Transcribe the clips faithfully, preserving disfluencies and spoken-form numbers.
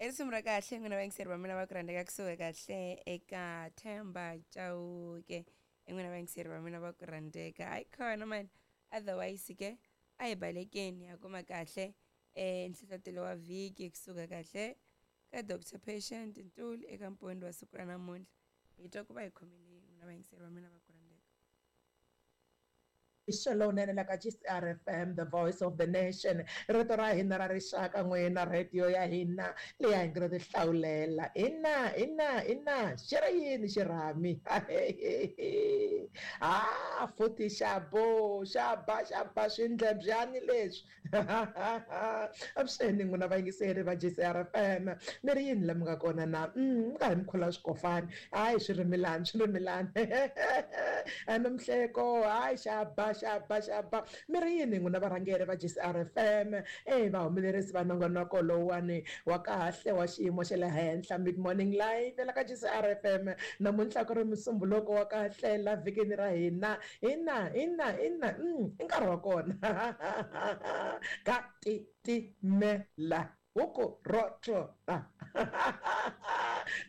I risimu ra kahle n'wina vayingiseri va mina va ku rhandzeka kusuka kahle eka Themba Chauke i n'wina vayingiseri va mina va ku rhandzeka hayi khona mani otherwise ke a hi balekeni ha kuma kahle um nhlohlotelo wa vhiki kusuka kahle ka Doctor Patient Ntuli eka mpondo wa siku ra namuntlha hi twa ku va hi khomele n'wina vayingiseri va mina va ku rhandzeka. Lowunene la ka G C R F M, the voice of the nation, rito ra hina ra rixaka n'wina, radio ya hina leyi hi nga ti hlawulela ina ina ina. Xi ri yini xirhami? A futhi xa bo xa ba xa ba swindlebyani leswi. Avuxeni n'wina vayingiseri va G C R F M, mi ri yini la mi nga kona na mi karhi mi khula swikofani? Hayi, swirimilani swirimilani nomhleko, hayi, xa ba xa ba xa ba. Mi ri yini n'wina varhangeri va G C R F M, e vahumelerisi va nongonoko lowuwani wa kahle wa xiyimo xa le henhla, Mid Morning Live la ka G C R F M? Namuntlha ku ri musumbuluko wa kahle la vhikini ra hina. Ina ina ina, i nkarhi wa kona ka titimela huku rotlo.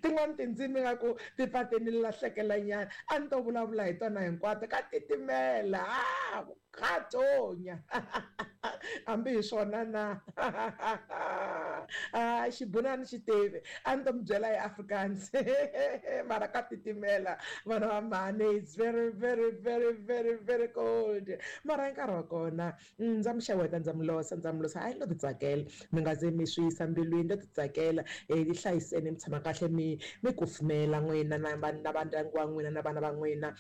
Tin'wani tindzimi nga ku ti pfa ti ni lahlekela nyana, a ni to vulavula hi tona hinkwato. Ka titimela a ka tonya, hambi hi swona na a xibunani xi tivi, a ni to mi byela hi Afrikaans, mara ka titimela vana va mhani. It's very very very very very cold, mara hi nkarhi wa kona ndza mi xeweta, ndza mi losa, ndza mi losa. Hayi, no ti tsakela, mi nga ze mi swi yisa mbilwini, no ti tsakela. um ti hlayiseni, mi tshama kahle, mi mi kufumela n'wina na na vandyangu wa n'wina na vana va n'wina.